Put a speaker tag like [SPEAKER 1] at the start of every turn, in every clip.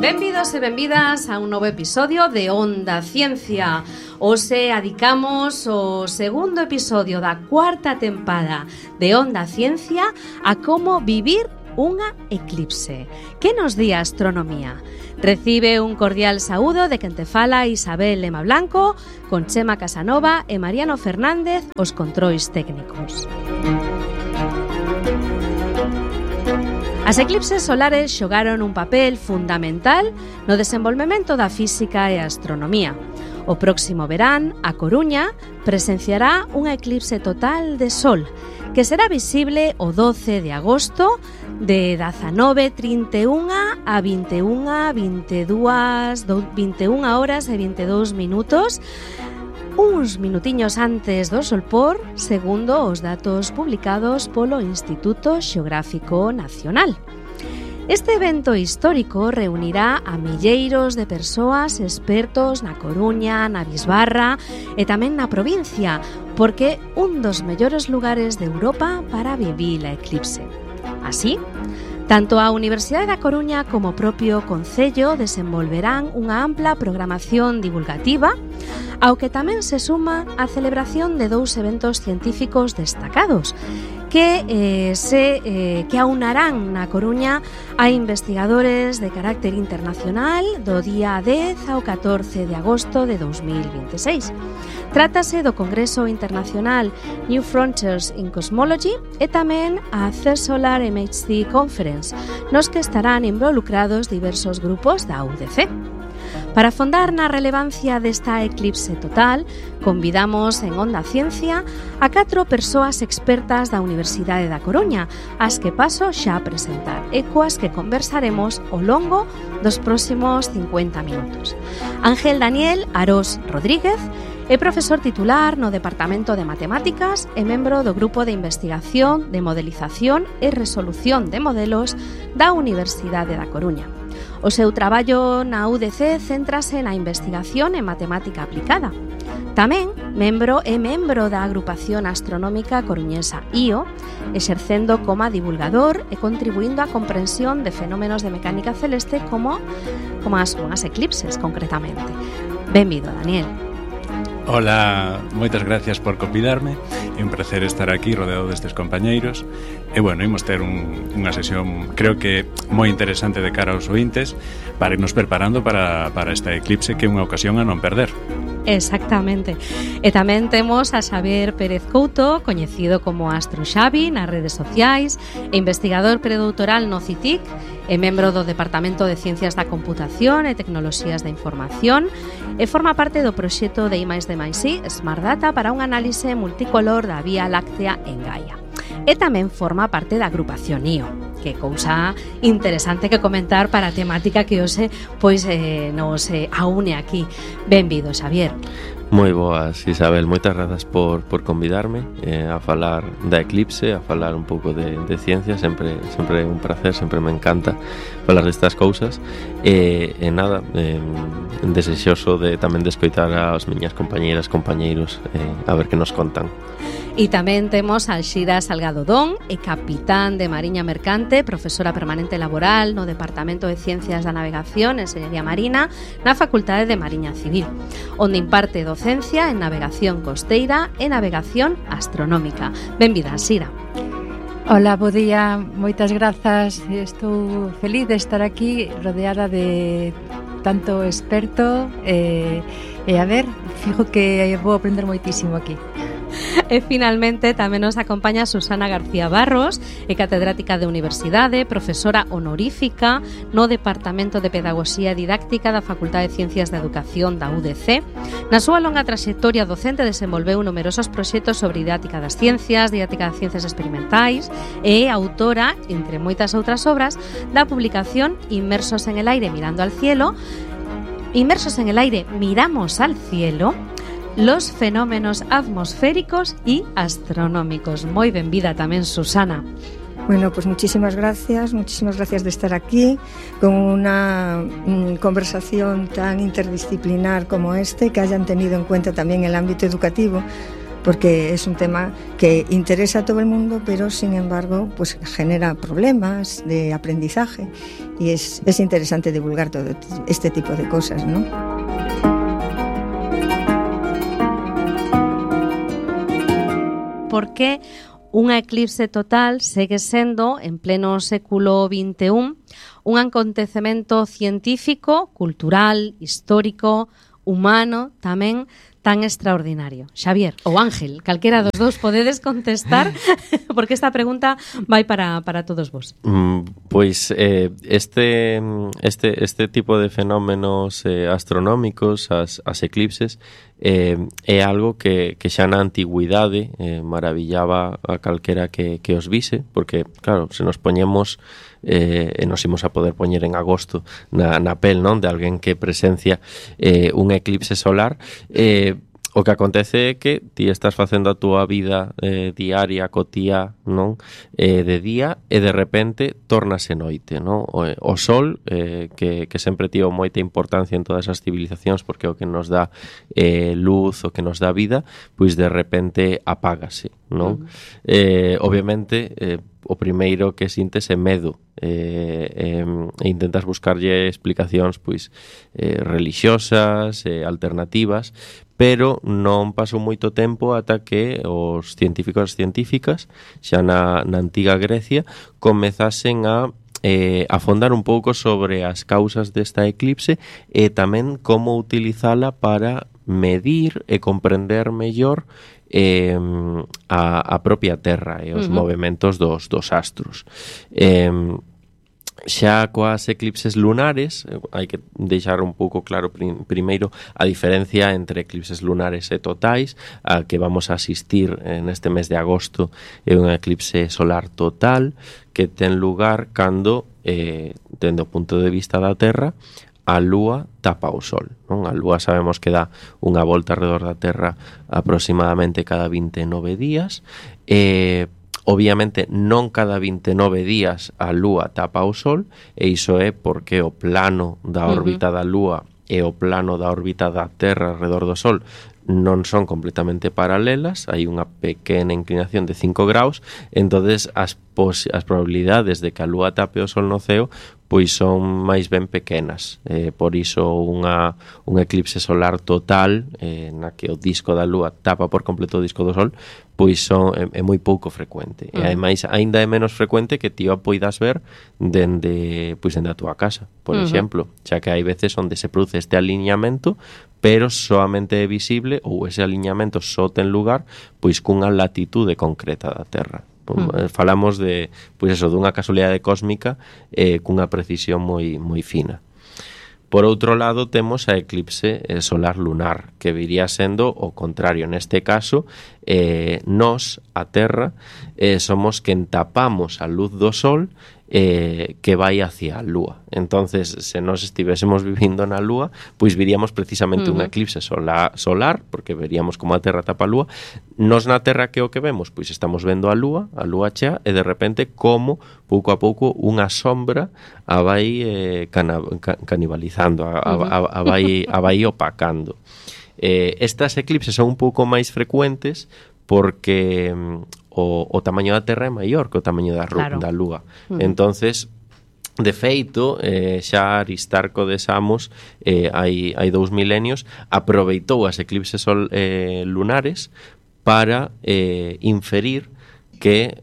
[SPEAKER 1] Benvidos e benvidas a un novo episodio de Onda Ciencia. Hoxe adicamos o segundo episodio da cuarta tempada de Onda Ciencia a como vivir unha eclipse. Que nos di a astronomía? Recibe un cordial saúdo de quen te fala Isabel Lema Blanco, con Chema Casanova e Mariano Fernández os controis técnicos. As eclipses solares xogaron un papel fundamental no desenvolvemento da física e a astronomía. O próximo verán, a Coruña presenciará unha eclipse total de Sol, que será visible o 12 de agosto de 19:31 a 21 horas e 22 minutos, uns minutiños antes do solpor, segundo os datos publicados polo Instituto Xeográfico Nacional. Este evento histórico reunirá a milleiros de persoas expertos na Coruña, na Bisbarra e tamén na provincia, porque un dos mellores lugares de Europa para vivir a eclipse. Así, tanto a Universidade da Coruña como o propio Concello desenvolverán unha ampla programación divulgativa, ao que tamén se suma a celebración de dous eventos científicos destacados que aunarán na Coruña a investigadores de carácter internacional do día 10 ao 14 de agosto de 2026. Trátase do Congreso Internacional New Frontiers in Cosmology e tamén a CERN Solar MHD Conference, nos que estarán involucrados diversos grupos da UDC. Para afondar na relevancia desta eclipse total, convidamos en Onda Ciencia a 4 persoas expertas da Universidade da Coruña, as que paso xa a presentar e coas que conversaremos ao longo dos próximos 50 minutos. Ángel Daniel Arós Rodríguez é profesor titular no Departamento de Matemáticas e membro do Grupo de Investigación de Modelización e Resolución de Modelos da Universidade da Coruña. O seu traballo na UDC céntrase na investigación en matemática aplicada. Tamén é membro da Agrupación Astronómica Coruñesa IO, exercendo como divulgador e contribuindo á comprensión de fenómenos de mecánica celeste como as eclipses, concretamente. Benvido, Daniel.
[SPEAKER 2] Hola, moitas gracias por convidarme. É un placer estar aquí rodeado destes compañeiros. E bueno, imos ter unha sesión, creo que moi interesante de cara aos ointes, para irnos preparando para esta eclipse, que é unha ocasión a non perder.
[SPEAKER 1] Exactamente. E tamén temos a Xavier Pérez Couto, coñecido como Astro Xavi nas redes sociais, e investigador predoutoral no CITIC, e membro do Departamento de Ciencias da Computación e Tecnoloxías da Información, e forma parte do proxecto de I+D+I Smart Data para un análise multicolor da Vía Láctea en Gaia. E tamén forma parte da agrupación IO, que cousa interesante que comentar para a temática que hoxe nos aúne aquí. Benvido, Xavier.
[SPEAKER 3] Moi boas, Isabel, moitas grazas por convidarme a falar da eclipse, a falar un pouco de ciencia. Sempre é un placer, sempre me encanta falar destas cousas. E nada, desexoso tamén de escoitar as miñas compañeiros a ver que nos contan.
[SPEAKER 1] E tamén temos a Alxira Salgado Dón, e capitán de Mariña Mercante, profesora permanente laboral no Departamento de Ciencias da Navegación e Enxeñería Marina na Facultade de Mariña Civil, onde imparte docencia en navegación costeira e navegación astronómica. Benvida, Alxira.
[SPEAKER 4] Hola, bo día, moitas grazas. Estou feliz de estar aquí rodeada de tanto experto e a ver, fijo que vou aprender moitísimo aquí.
[SPEAKER 1] E finalmente tamén nos acompaña Susana García Barros, é catedrática de Universidade, profesora honorífica no Departamento de Pedagogía e Didáctica da Facultade de Ciencias da Educación da UDC. Na súa longa traxectoria docente desenvolveu numerosos proxectos sobre didáctica das ciencias, didáctica das ciencias experimentais e é autora, entre moitas outras obras, da publicación Inmersos en el aire mirando al cielo, Inmersos en el aire miramos al cielo, los fenómenos atmosféricos y astronómicos. Moi benvida tamén, Susana.
[SPEAKER 5] Bueno, pues muchísimas gracias de estar aquí con una conversación tan interdisciplinar como que hayan tenido en cuenta también el ámbito educativo, porque es un tema que interesa a todo el mundo, pero sin embargo pues genera problemas de aprendizaje y es interesante divulgar todo este tipo de cosas, ¿no?
[SPEAKER 1] Por que unha eclipse total segue sendo, en pleno século XXI, un acontecemento científico, cultural, histórico, humano, tamén tan extraordinario. Xavier ou Ángel, calquera dos dous podedes contestar, porque esta pregunta vai para todos vos.
[SPEAKER 3] Pois este tipo de fenómenos astronómicos, as eclipses, é algo que xa na antigüidade maravillaba a calquera que os vise, porque, claro, se nos poñemos e nos imos a poder poñer en agosto na pel, non, de alguén que presencia un eclipse solar, o que acontece é que ti estás facendo a túa vida diaria, cotía, non, de día, e de repente tórnase noite, non? O sol, que sempre tivo moita importancia en todas as civilizacións, porque é o que nos dá luz, o que nos dá vida, pois de repente apágase, non? Obviamente, o primeiro que sintes é medo, e intentas buscarlle explicacións pois religiosas, alternativas, pero non pasou moito tempo ata que os científicos e científicas xa na antiga Grecia comezasen a afondar un pouco sobre as causas desta eclipse e tamén como utilizala para medir e comprender mellor a propia Terra e os movementos dos astros. Xa coas eclipses lunares, hai que deixar un pouco claro primeiro a diferencia entre eclipses lunares e totais. A que vamos a asistir neste mes de agosto é unha eclipse solar total que ten lugar cando, dende o punto de vista da Terra, a Lúa tapa o Sol, non? A Lúa sabemos que dá unha volta alrededor da Terra aproximadamente cada 29 días, obviamente non cada 29 días a Lúa tapa o Sol, e iso é porque o plano da órbita da Lúa e o plano da órbita da Terra alrededor do Sol non son completamente paralelas, hai unha pequena inclinación de 5 graus, entonces as probabilidades de que a Lúa tape o Sol no ceo pois son máis ben pequenas, por iso unha eclipse solar total na que o disco da Lúa tapa por completo o disco do Sol pois é moi pouco frecuente, e ademais aínda é menos frecuente que ti o poidas ver dende a túa casa, por exemplo, xa que hai veces onde se produce este aliñamento, pero soamente é visible, ou ese aliñamento só ten lugar pois cunha latitude concreta da Terra. Falamos de, dunha casualidade cósmica cunha precisión moi fina. Por outro lado, temos a eclipse solar lunar, que viría sendo o contrario. Neste caso, nós, a Terra, somos quen tapamos a luz do Sol que vai hacia a Lúa. Entonces, se nós estivésemos vivindo na Lúa, pois viríamos precisamente unha eclipse solar, porque veríamos como a Terra tapa a Lúa. Nós na Terra que o que vemos? Pois estamos vendo a Lúa chea, e de repente como, pouco a pouco, unha sombra a vai canibalizando, a vai opacando. Estas eclipses son un pouco máis frecuentes porque o tamaño da Terra é maior que o tamaño da Lúa. Entonces, de feito, xa Aristarco de Samos hai 2 milenios aproveitou as eclipses lunares para inferir que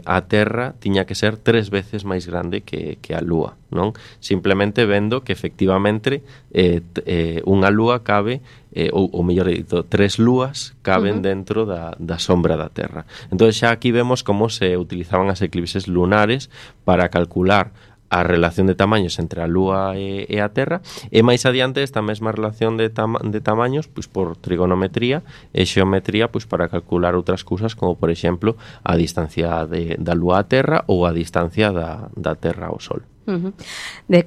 [SPEAKER 3] a Terra tiña que ser 3 veces máis grande que a Lúa, non? Simplemente vendo que efectivamente unha Lúa cabe, ou mellor dito, 3 lúas caben dentro da sombra da Terra. Entón xa aquí vemos como se utilizaban as eclipses lunares para calcular a relación de tamaños entre a Lúa e a Terra, e máis adiante esta mesma relación de tamaños pois por trigonometría e xeometría pois para calcular outras cousas como por exemplo a distancia da Lúa á Terra ou a distancia da Terra ao Sol.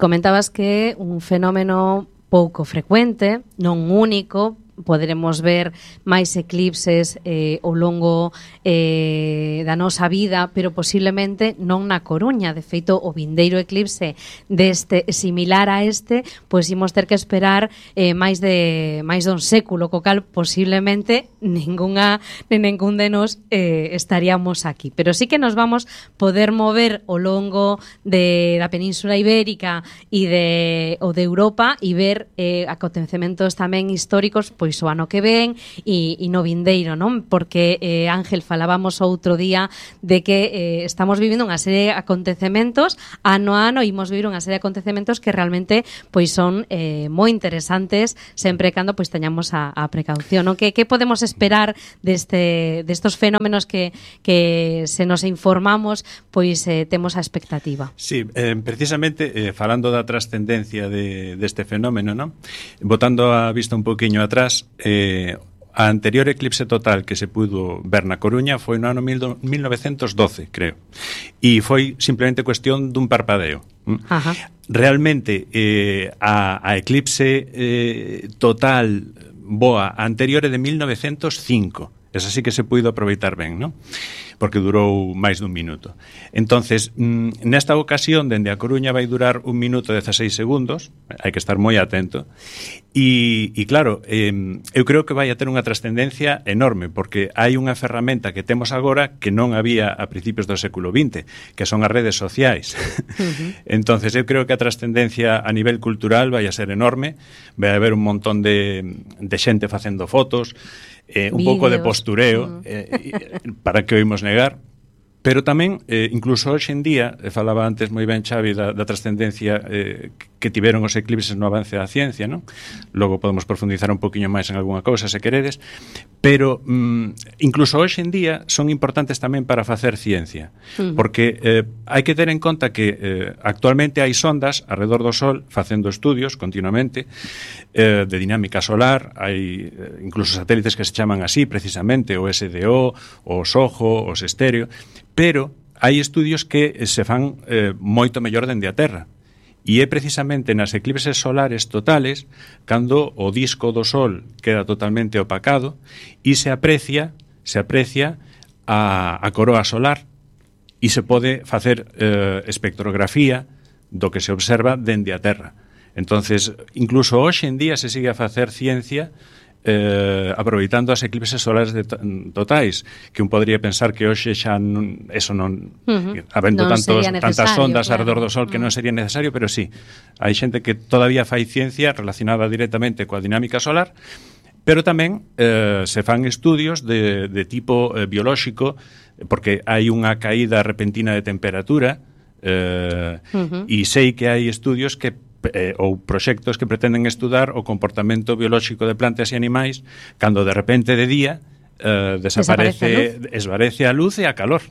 [SPEAKER 1] Comentabas que un fenómeno pouco frecuente, non único, poderemos ver máis eclipses ao longo da nosa vida, pero posiblemente non na Coruña. De feito, o vindeiro eclipse deste similar a este, pois imos ter que esperar máis dun século, co cal posiblemente ningún de nós estaríamos aquí. Pero sí que nos vamos poder mover ao longo da Península Ibérica e de Europa e ver acontecementos tamén históricos pois o ano que ven e no vindeiro, non? Porque Ángel, falábamos outro día de que estamos vivindo unha serie de acontecementos ano a ano, e imos vivir unha serie de acontecementos que realmente pois son moi interesantes sempre cando pois teñamos a precaución, non? Que podemos esperar destos fenómenos que se nos informamos pois temos a expectativa?
[SPEAKER 2] Sí, precisamente falando da trascendencia deste fenómeno, non? Botando a vista un poquinho atrás, a anterior eclipse total que se pudo ver na Coruña foi no ano 1912, creo. E foi simplemente cuestión dun parpadeo.
[SPEAKER 1] Ajá.
[SPEAKER 2] Realmente, a eclipse total boa anterior é de 1905. Esa sí que se puido aproveitar ben, non? Porque durou máis dun minuto. Entonces, nesta ocasión, dende a Coruña vai durar 1 minuto e 16 segundos, hai que estar moi atento, e claro, eu creo que vai a ter unha trascendencia enorme, porque hai unha ferramenta que temos agora que non había a principios do século XX, que son as redes sociais. Entonces, eu creo que a trascendencia a nivel cultural vai a ser enorme, vai a haber un montón de xente facendo fotos, un pouco de postureo, para que oímos negar, pero tamén, incluso hoxe en día, falaba antes moi ben Xavi da trascendencia que tiveron os eclipses no avance da ciencia, non? Logo podemos profundizar un poquinho máis en algunha cousa, se queredes, pero incluso hoxe en día son importantes tamén para facer ciencia, porque hai que ter en conta que actualmente hai sondas alrededor do Sol facendo estudios continuamente de dinámica solar, hai incluso satélites que se chaman así precisamente, o SDO, o SOHO, os Estéreo, pero hai estudios que se fan moito mellor dende a Terra. E é precisamente nas eclipses solares totales cando o disco do Sol queda totalmente opacado e se aprecia a coroa solar e se pode facer espectrografía do que se observa dende a Terra. Entonces, incluso hoxe en día se sigue a facer ciencia aproveitando as eclipses solares totais, que un podría pensar que hoxe xa habendo tantas ondas alrededor do Sol que non sería necesario, pero sí, hai xente que todavía fai ciencia relacionada directamente coa dinámica solar, pero tamén se fan estudios de tipo biolóxico, porque hai unha caída repentina de temperatura, e sei que hai estudios que ou proxectos que pretenden estudar o comportamento biolóxico de plantas e animais cando de repente de día esvarece a luz e a calor.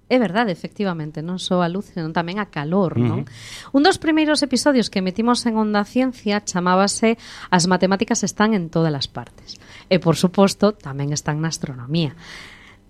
[SPEAKER 1] É verdade, efectivamente, non só a luz, senón tamén a calor, non? Un dos primeiros episodios que metimos en Onda Ciencia chamábase As matemáticas están en todas as partes. E, por suposto, tamén están na astronomía.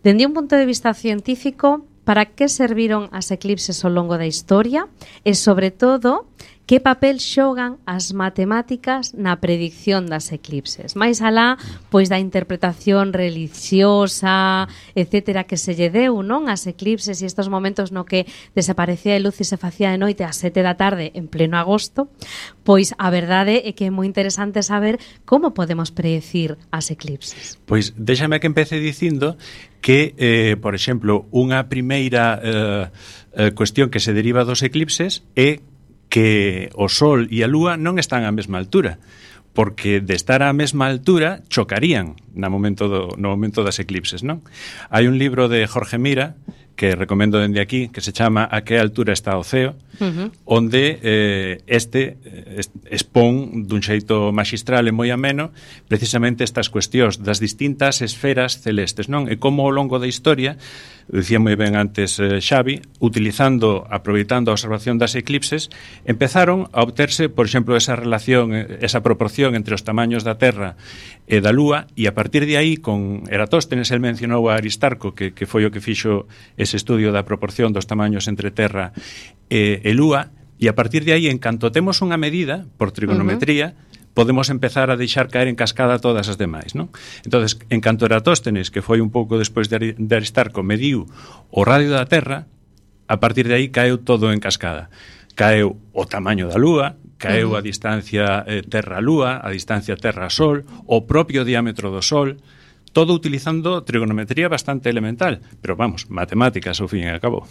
[SPEAKER 1] Dende un punto de vista científico, para que serviron as eclipses ao longo da historia e, sobre todo, que papel xogan as matemáticas na predicción das eclipses? Mais alá, pois, da interpretación religiosa, etcétera, que se lle deu, non? As eclipses e estes momentos no que desaparecía de luz e se facía de noite ás 7 da tarde en pleno agosto, pois a verdade é que é moi interesante saber como podemos predecir as eclipses.
[SPEAKER 2] Pois déxame que empece dicindo que, por exemplo, unha primeira cuestión que se deriva dos eclipses é que o Sol e a Lúa non están á mesma altura, porque de estar á mesma altura chocarían no momento das eclipses, non? Hai un libro de Jorge Mira que recomendo dende aquí, que se chama A que altura está o ceo, onde expón dun xeito magistral e moi ameno precisamente estas cuestións das distintas esferas celestes, non? E como ao longo da historia, dicía moi ben antes Xavi, aproveitando a observación das eclipses, empezaron a obterse, por exemplo, esa relación, esa proporción entre os tamaños da Terra e da Lúa, e a partir de aí, con Eratóstenes, el mencionou a Aristarco, que foi o que fixo ese estudio da proporción dos tamaños entre Terra e Lúa, e a partir de aí, en canto temos unha medida por trigonometría, podemos empezar a deixar caer en cascada todas as demais, non? Entonces, en canto Eratóstenes, que foi un pouco despois de Aristarco, mediu o radio da Terra, a partir de aí caeu todo en cascada. Caeu o tamaño da Lúa, caeu a distancia Terra-Lúa, a distancia Terra-Sol, o propio diámetro do Sol, todo utilizando trigonometría bastante elemental, pero vamos, matemáticas ao fin e ao cabo.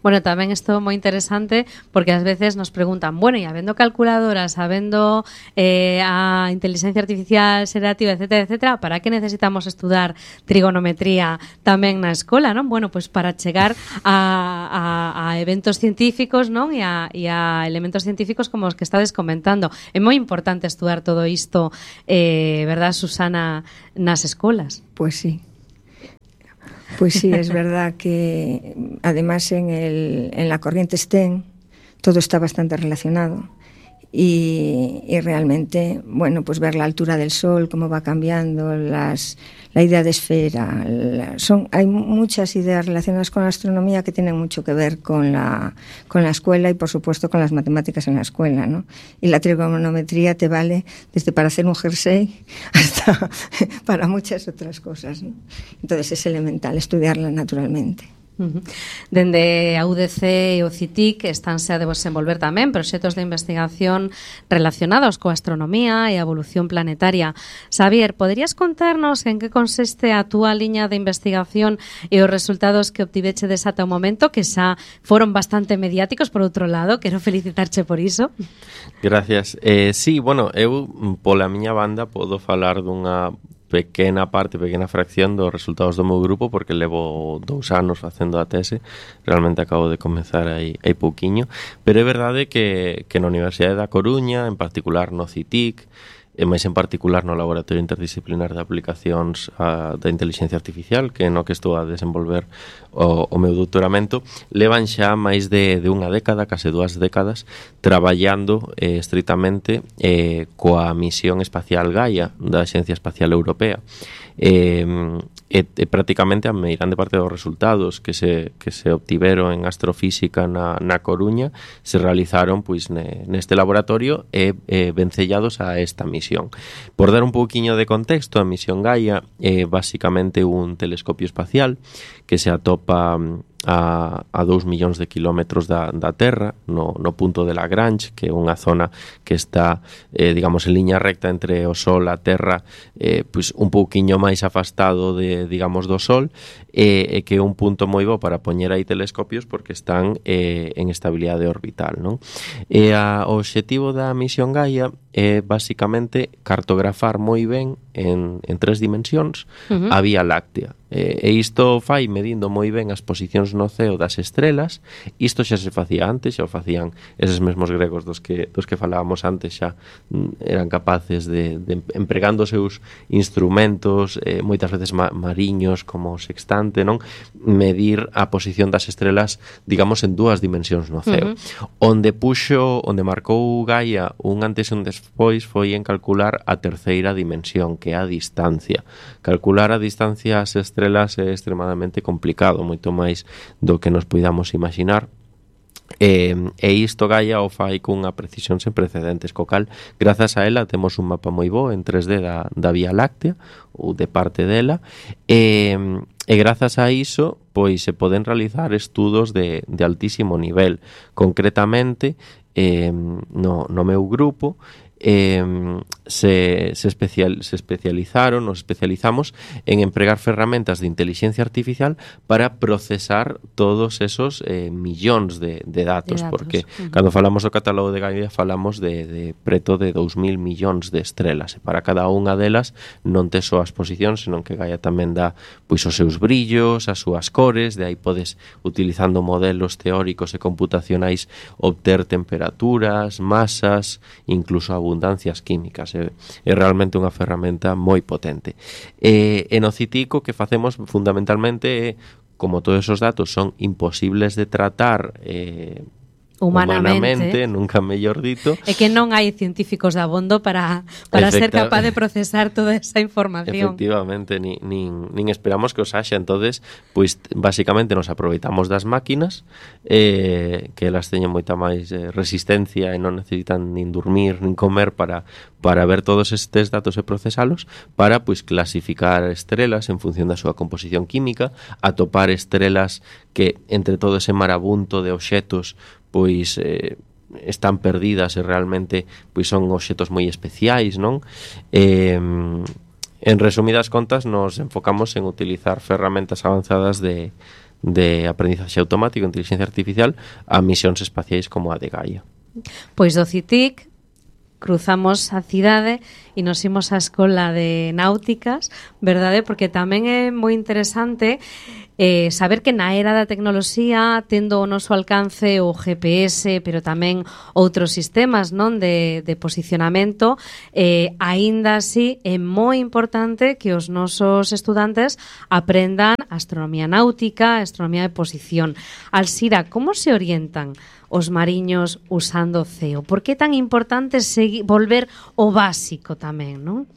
[SPEAKER 1] Bueno, tamén isto moi interesante porque ás veces nos preguntan, bueno, e habendo calculadoras, habendo a inteligencia artificial xerativa, etcétera, etcétera, para que necesitamos estudar trigonometría tamén na escola, non? Bueno, pois para chegar a eventos científicos, non? E a elementos científicos como os que estades comentando. É moi importante estudar todo isto, verdad, Susana, nas escolas.
[SPEAKER 5] Pues sí, es verdad que además en la corriente STEM todo está bastante relacionado y realmente, bueno, pues ver la altura del Sol, cómo va cambiando, la idea de esfera, hay muchas ideas relacionadas con la astronomía que tienen mucho que ver con la escuela y por supuesto con las matemáticas en la escuela, ¿no? Y la trigonometría te vale desde para hacer un jersey hasta para muchas otras cosas, ¿no? Entonces es elemental estudiarla naturalmente.
[SPEAKER 1] Dende a UDC e o CITIC estánse a desenvolver tamén proxectos de investigación relacionados coa astronomía e a evolución planetaria. Xavier, poderías contarnos en que consiste a túa liña de investigación e os resultados que obtivechedes ata o momento, que xa foron bastante mediáticos por outro lado? Quero felicitarche por iso.
[SPEAKER 3] Gracias. Sí, bueno, eu pola miña banda podo falar dunha pequena fracción dos resultados do meu grupo, porque levo 2 anos facendo a tese, realmente acabo de comenzar aí pouquiño, pero é verdade que na Universidade da Coruña, en particular no CITIC, e máis en particular no Laboratorio Interdisciplinar de Aplicacións da Inteligencia Artificial, que no que estou a desenvolver o meu doutoramento, levan xa máis de unha década, case 2 décadas, traballando estritamente coa misión espacial Gaia da Axencia Espacial Europea. Prácticamente a meirande parte dos resultados que se obtiveron en astrofísica na Coruña se realizaron pois neste laboratorio e vencellados a esta misión. Por dar un pouquiño de contexto, a misión Gaia é basicamente un telescopio espacial que se atopa a 2 millóns de kilómetros da Terra, no punto de Lagrange, que é unha zona que está, digamos, en liña recta entre o Sol e a Terra, pois un pouquiño máis afastado digamos, do Sol, e que é un punto moi bo para poñer aí telescopios porque están en estabilidade orbital, non? E o obxectivo da misión Gaia é basicamente cartografar moi ben en 3 dimensións a Vía Láctea. E isto fai medindo moi ben as posicións no ceo das estrelas. Isto xa se facía antes, xa o facían eses mesmos gregos dos que falábamos antes, xa eran capaces de empregando os seus instrumentos, moitas veces mariños como o sextante, non? Medir a posición das estrelas, digamos, en 2 dimensións no ceo. Onde marcou Gaia un antes e un despois foi en calcular a 3ª dimensión, que é a distancia. Calcular a distancia ás estrelas é extremadamente complicado, moito máis do que nos poidamos imaginar. E isto Gaia o fai cunha precisión sen precedentes, co cal, grazas a ela, temos un mapa moi bo en 3D da Vía Láctea, ou de parte dela, e grazas a iso, pois se poden realizar estudos de altísimo nivel. Concretamente, no meu grupo, se especializamos en empregar ferramentas de inteligencia artificial para procesar todos esos millóns de datos, porque cando falamos do catálogo de Gaia falamos de preto de 2.000 millóns de estrelas, e para cada unha delas non tes só as posicións, senón que Gaia tamén dá pois os seus brillos, as súas cores, de aí podes, utilizando modelos teóricos e computacionais, obter temperaturas, masas, incluso abundancias químicas. É realmente unha ferramenta moi potente. E no CITIC o que facemos fundamentalmente é, como todos esos datos son imposibles de tratar
[SPEAKER 1] humanamente,
[SPEAKER 3] nunca mellor dito.
[SPEAKER 1] É que non hai científicos de abondo para ser capaz de procesar toda esa información.
[SPEAKER 3] Efectivamente, nin esperamos que os haxa. Entonces, pois basicamente nos aproveitamos das máquinas, que elas teñen moita máis resistencia e non necesitan nin dormir, nin comer para ver todos estes datos e procesalos, para pois clasificar estrelas en función da súa composición química, atopar estrelas que entre todo ese marabunto de obxetos pois están perdidas e realmente pois son obxetos moi especiais, non? En resumidas contas, nos enfocamos en utilizar ferramentas avanzadas de aprendizaxe automático, inteligencia artificial, a misións espaciais como a de Gaia.
[SPEAKER 1] Pois do CITIC cruzamos a cidade e nos imos á escola de náuticas, verdade? Porque tamén é moi interesante saber que na era da tecnoloxía, tendo o noso alcance o GPS, pero tamén outros sistemas, non, de posicionamento, aínda así é moi importante que os nosos estudantes aprendan astronomía náutica, astronomía de posición. Alsira, como se orientan os mariños usando CEO? Por que é tan importante volver ao básico tamén, non?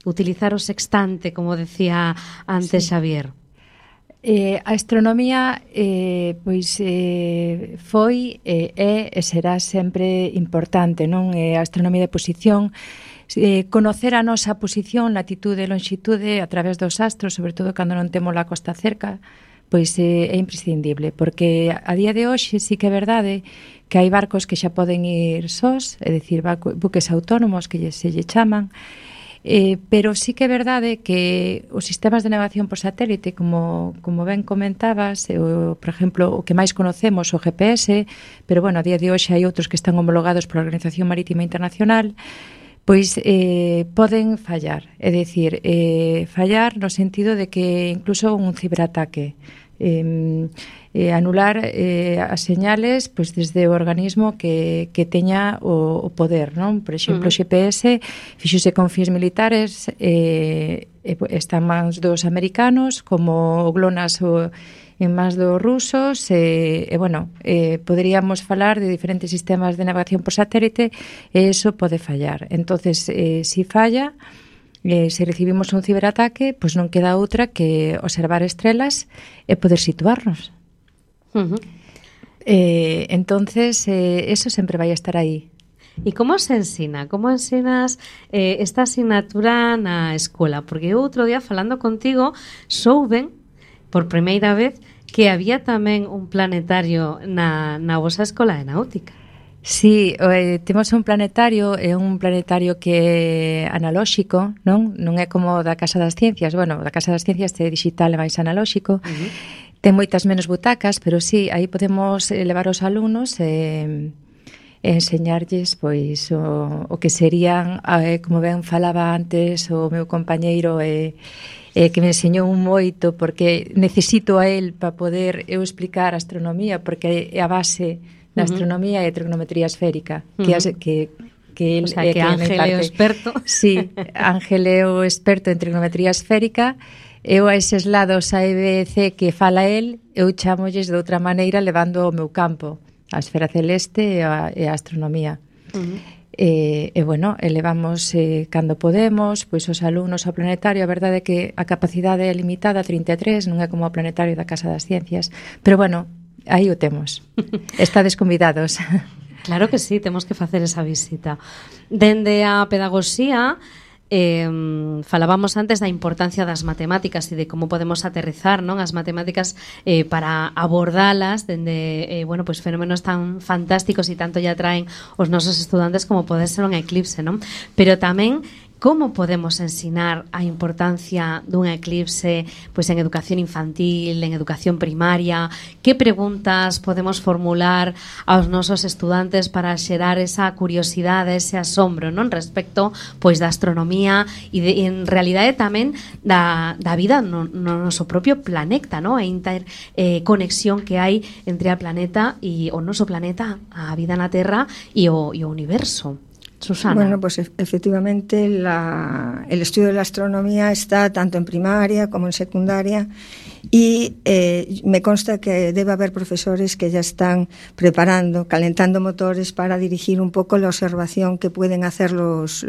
[SPEAKER 1] Utilizar o sextante, como decía antes Xavier.
[SPEAKER 4] A astronomía foi e será sempre importante, non? A astronomía de posición, conocer a nosa posición, latitude e longitude a través dos astros, sobre todo cando non temos a costa cerca, pois é imprescindible, porque a día de hoxe sí que é verdade que hai barcos que xa poden ir sós, é dicir, buques autónomos que se lle chaman, pero sí que é verdade que os sistemas de navegación por satélite, como ben comentabas, por exemplo, o que máis conocemos, o GPS, pero bueno, a día de hoxe hai outros que están homologados pola Organización Marítima Internacional, pois poden fallar, é dicir, fallar no sentido de que incluso un ciberataque, anular as señales pois desde o organismo que teña o poder, non? Por exemplo, o GPS fixose con fins militares, están máis dos americanos, como o GLONASS en máis dos rusos, poderíamos falar de diferentes sistemas de navegación por satélite e eso pode fallar. Entonces, si falla, se recibimos un ciberataque, pois non queda outra que observar estrelas e poder situarnos. Entonces, eso sempre vai estar aí.
[SPEAKER 1] E como se ensina? Como ensinas esta asignatura na escola? Porque outro día, falando contigo, souben por primeira vez que había tamén un planetario na vosa escola de náutica.
[SPEAKER 4] Sí, temos un planetario, é un planetario que é analóxico, non é como da Casa das Ciencias. Bueno, da Casa das Ciencias é digital e máis analóxico. Ten moitas menos butacas, pero sí, aí podemos levar os alumnos e enseñarlles pois o que serían, como ben falaba antes o meu compañeiro, que me enseñou un moito, porque necesito a él para poder eu explicar a astronomía, porque é a base da astronomía e trigonometría esférica, que el,
[SPEAKER 1] o sea, que Ángel é o experto.
[SPEAKER 4] Sí, Ángel é o experto en trigonometría esférica. Eu a eses lados a EBC que fala el, eu chamolles de outra maneira levando o meu campo, a esfera celeste e a astronomía. Elevamos cando podemos, pois os alumnos ao planetario. A verdade é que a capacidade é limitada a 33, non é como o planetario da Casa das Ciencias, pero bueno, aí o temos. Estades convidados.
[SPEAKER 1] Claro que sí, temos que facer esa visita. Dende a pedagogía, falábamos antes da importancia das matemáticas e de como podemos aterrizar, non, as matemáticas para abordalas dende pois fenómenos tan fantásticos e tanto lle atraen os nosos estudantes como pode ser un eclipse, non? Pero tamén como podemos ensinar a importancia dun eclipse pois en educación infantil, en educación primaria. Que preguntas podemos formular aos nosos estudantes para xerar esa curiosidade, ese asombro, non, respecto pois da astronomía e en realidade tamén da vida no noso propio planeta, non? A interconexión que hai entre a planeta e o noso planeta, a vida na Terra e o universo. Susana.
[SPEAKER 5] Bueno, pues efectivamente el estudio de la astronomía está tanto en primaria como en secundaria y me consta que debe haber profesores que ya están preparando, calentando motores para dirigir un poco la observación que pueden hacer los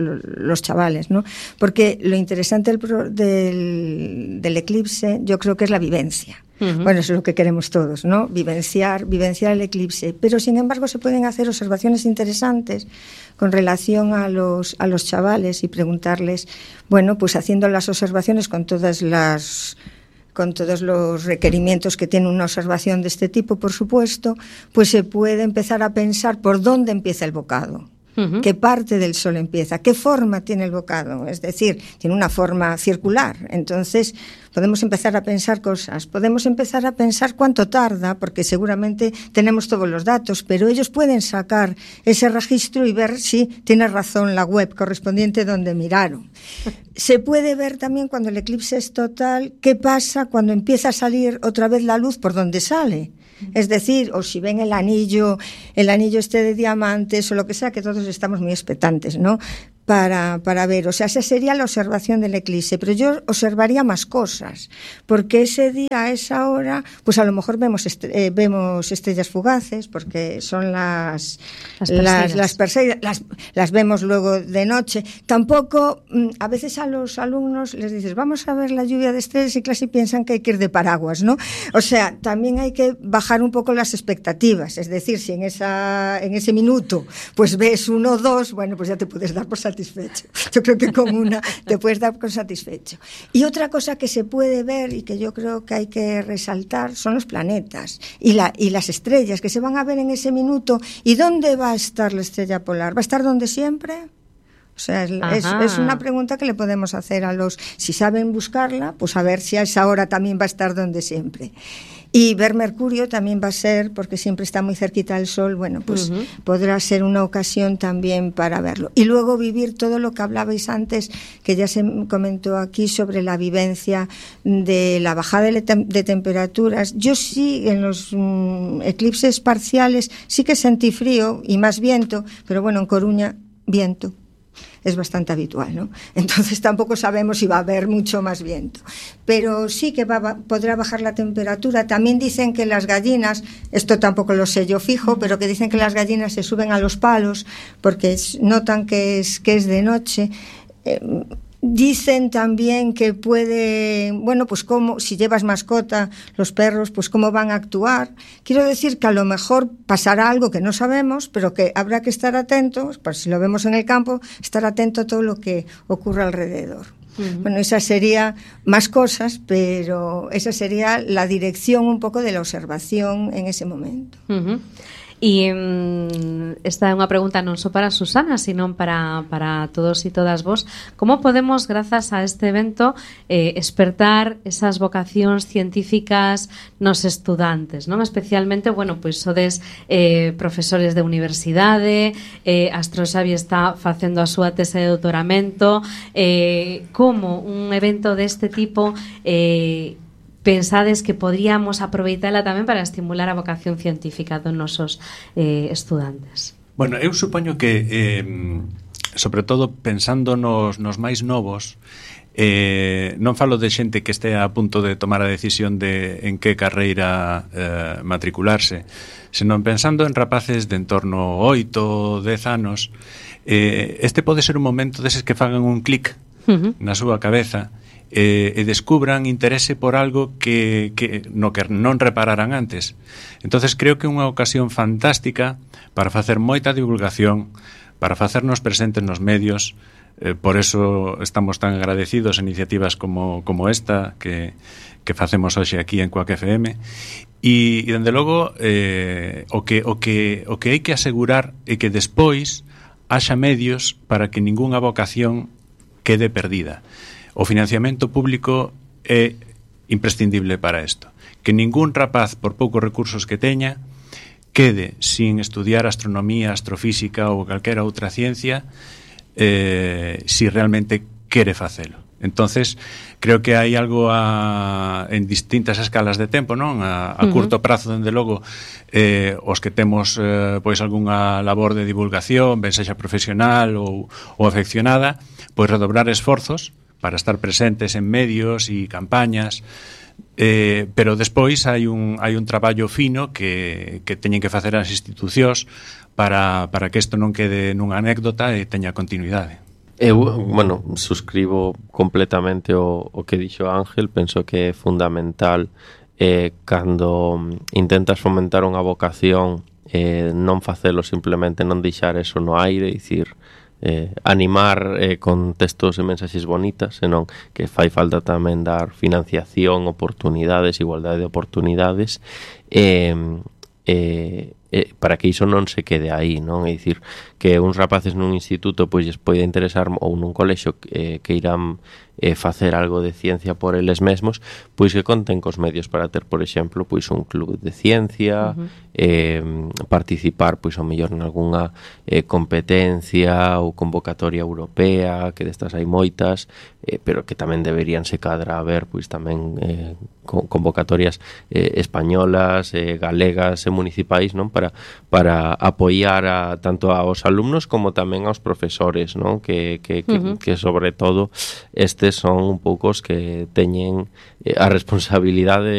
[SPEAKER 5] chavales, ¿no? Porque lo interesante del eclipse yo creo que es la vivencia. Bueno, eso es lo que queremos todos, ¿no? Vivenciar el eclipse. Pero, sin embargo, se pueden hacer observaciones interesantes con relación a los chavales y preguntarles, bueno, pues haciendo las observaciones con todos los requerimientos que tiene una observación de este tipo, por supuesto, pues se puede empezar a pensar por dónde empieza el bocado. ¿Qué parte del Sol empieza? ¿Qué forma tiene el bocado? Es decir, tiene una forma circular. Entonces, podemos empezar a pensar cosas. Podemos empezar a pensar cuánto tarda, porque seguramente tenemos todos los datos, pero ellos pueden sacar ese registro y ver si tiene razón la web correspondiente donde miraron. Se puede ver también cuando el eclipse es total, qué pasa cuando empieza a salir otra vez la luz por donde sale. Es decir, o si ven el anillo este de diamantes o lo que sea, que todos estamos muy expectantes, ¿no? Para ver, o sea, esa sería la observación del eclipse, pero yo observaría más cosas, porque ese día, a esa hora, pues a lo mejor vemos estrellas fugaces, porque son las Perseidas, las vemos luego de noche. Tampoco, a veces a los alumnos les dices, vamos a ver la lluvia de estrellas y casi piensan que hay que ir de paraguas, ¿no? O sea, también hay que bajar un poco las expectativas, es decir, si en ese minuto pues ves 1 o 2, bueno, pues ya te puedes dar por satisfecho. Yo creo que con una te puedes dar por satisfecho. Y otra cosa que se puede ver y que yo creo que hay que resaltar son los planetas y las estrellas que se van a ver en ese minuto. ¿Y dónde va a estar la estrella polar? ¿Va a estar donde siempre? O sea, es una pregunta que le podemos hacer a si saben buscarla, pues a ver si a esa hora también va a estar donde siempre. Y ver Mercurio también va a ser, porque siempre está muy cerquita del Sol, bueno, pues podrá ser una ocasión también para verlo. Y luego vivir todo lo que hablabais antes, que ya se comentó aquí sobre la vivencia de la bajada de temperaturas. Yo sí, en los eclipses parciales, sí que sentí frío y más viento, pero bueno, en Coruña, viento. Es bastante habitual, ¿no? Entonces tampoco sabemos si va a haber mucho más viento. Pero sí que podrá bajar la temperatura. También dicen que las gallinas, esto tampoco lo sé yo fijo, pero que dicen que las gallinas se suben a los palos porque notan que es de noche. Dicen también que puede, bueno, pues como si llevas mascota, los perros, pues cómo van a actuar. Quiero decir que a lo mejor pasará algo que no sabemos, pero que habrá que estar atentos, pues si lo vemos en el campo, estar atento a todo lo que ocurre alrededor. Bueno, esa sería más cosas, pero esa sería la dirección un poco de la observación en ese momento.
[SPEAKER 1] E esta é unha pregunta non só para Susana, sino para todos e todas vos. Como podemos, grazas a este evento, espertar esas vocacións científicas nos estudantes, non? Especialmente, bueno, pois sodes profesores de universidade, Astroxavi está facendo a súa tese de doutoramento, como un evento deste tipo pensades que podríamos aproveitala tamén para estimular a vocación científica dos nosos estudantes?
[SPEAKER 2] Bueno, eu supoño que sobre todo pensando nos máis novos, non falo de xente que este a punto de tomar a decisión de en que carreira matricularse, senón pensando en rapaces de en torno 8 ou 10 anos. Este pode ser un momento deses que fagan un clic na súa cabeza e descubran interese por algo que non repararan antes. Entonces creo que é unha ocasión fantástica para facer moita divulgación, para facernos presentes nos medios. Por eso estamos tan agradecidos a iniciativas como esta que facemos hoxe aquí en Cuac FM. E dende logo o que hai que asegurar é que despois haxa medios para que ningunha vocación quede perdida. O financiamento público é imprescindible para isto. Que ningún rapaz, por poucos recursos que teña, quede sin estudiar astronomía, astrofísica ou calquera outra ciencia si realmente quere facelo. Entonces, creo que hai algo en distintas escalas de tempo, non? A curto prazo, dende logo, os que temos pois algunha labor de divulgación, ben sexa profesional ou afeccionada, pois redobrar esforzos para estar presentes en medios e campañas, pero despois hai un traballo fino que teñen que facer as institucións para que isto non quede nunha anécdota e teña continuidade.
[SPEAKER 3] Eu, bueno, suscribo completamente o que dixo Ángel. Penso que é fundamental cando intentas fomentar unha vocación non facelo simplemente, non deixar eso no aire, dicir, animar con textos e mensaxes bonitas, senón que fai falta tamén dar financiación, oportunidades, igualdade de oportunidades, para que iso non se quede aí, non? É dicir, que uns rapaces nun instituto pois lles pode interesar, ou nun colexo que irán facer algo de ciencia por eles mesmos, pois que conten cos medios para ter, por exemplo, pois un club de ciencia, participar pois ao mellor en algunha competencia ou convocatoria europea, que destas hai moitas, pero que tamén deberían se cadra haber pois tamén convocatorias españolas, galegas e municipais, non? Para apoiar tanto aos alumnos como tamén aos profesores, non? Que sobre todo estes son un pouco os que teñen a responsabilidade